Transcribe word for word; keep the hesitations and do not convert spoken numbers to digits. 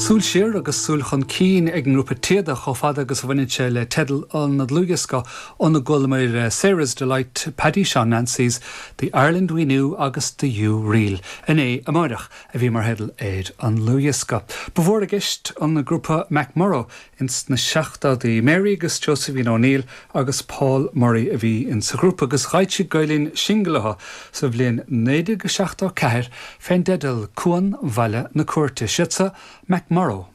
Súil siar agus súil chun cinn ag an ngrúpa Téada chomh fada agus a bhaineann sé le teideal an dlúthdhiosca óna gcualamar Sarah's Delight, Paddy Sean Nancy's, The Ireland We Knew agus The U Reel. Inné amárach a bhí mar theideal ar an dlúthdhiosca. Ba mhór i gceist an grúpa MacMorrow ins na seachtóidí Mary agus Josephine O'Neill agus Paul Murray a bhí in sa ghrúpa agus d'eisigh Gael Linn singil sa bhliain naoi déag seachtó ceathair fén dteideal Cuan Bhaile na Cúirte siadsa MacMorrow.